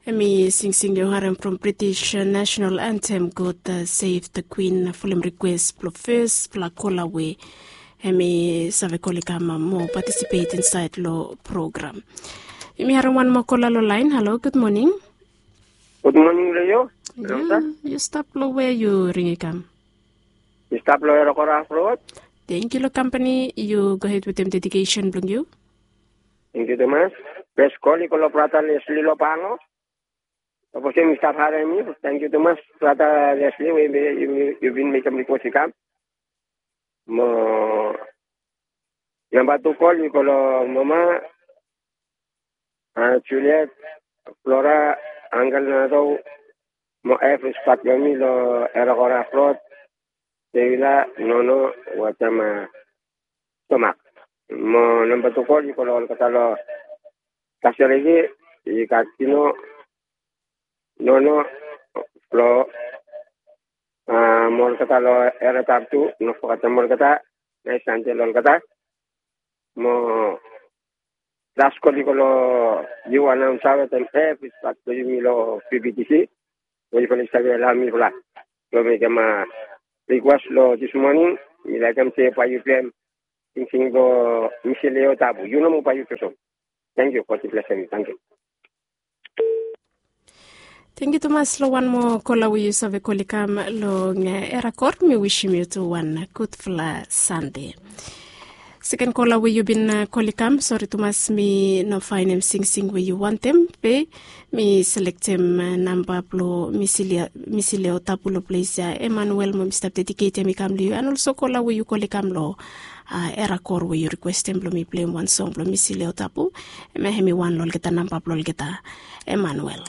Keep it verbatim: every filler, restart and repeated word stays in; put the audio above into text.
Em i singsing yu harem from British National Anthem, God Save the Queen, fulem rikwes blong fes blong kola we em i save kol i kam mo patisipet insaed long program. Yumi harem wan moa kola long laen. Halo, gud moning. Gud moning long yu. Yu stap long we yu ring i kam? Yu stap long Erakora Afrod. Tengkiu long kampani. Yu gohed wetem dedikesen blong yu. Tengkiu tumas. Fes kol i go long brata Lesli long Pango. Sapos yumi stap harem mi, tengkiu tumas brata Lesli we yu bin mekem rikwes i kam. Mo namba tu kol i go long mama, Juliet, Flora, angkel Nato, mo evri spat blong mi long Erakora Afrod, Sevila, Nono, wetem Tomak. Mo namba tu kol i go long olgeta long Kaseregi, i gat Tino, Nono, Flo, mo olgeta long Eratap tu, no fogetem olgeta. Naes Sande long olgeta. Mo las kol i go long yu anaonsa wetem evri spat blong yumi long P B T C, we yufala i save alaem mifala blong mekem rikwes long dis moning. Mi laekem se bae yu plem singsing blong Misileo Tabu. Yu nomo bae yu plem so. Tengkiu. God i blesem yu. Tengkiu. Tengkiu tumas long wan moa kola we yu save kol i kam long Erakor. Mi wisim yu tu wan gudfala Sande. Seken kola we yu bin kol i kam, sori tumas mi no faenem singsing we yu wantem, be mi selektem namba blong Misileo Tabu long ples ya, Emanuel, mo mi stap dediketem i kam long yu. An olso kola we yu kol i kam long Erakor we yu rikwestem blong mi pleim wan song blong Misileo Tabu, em ya hem i wan long olgeta namba blong olgeta. Emanuel.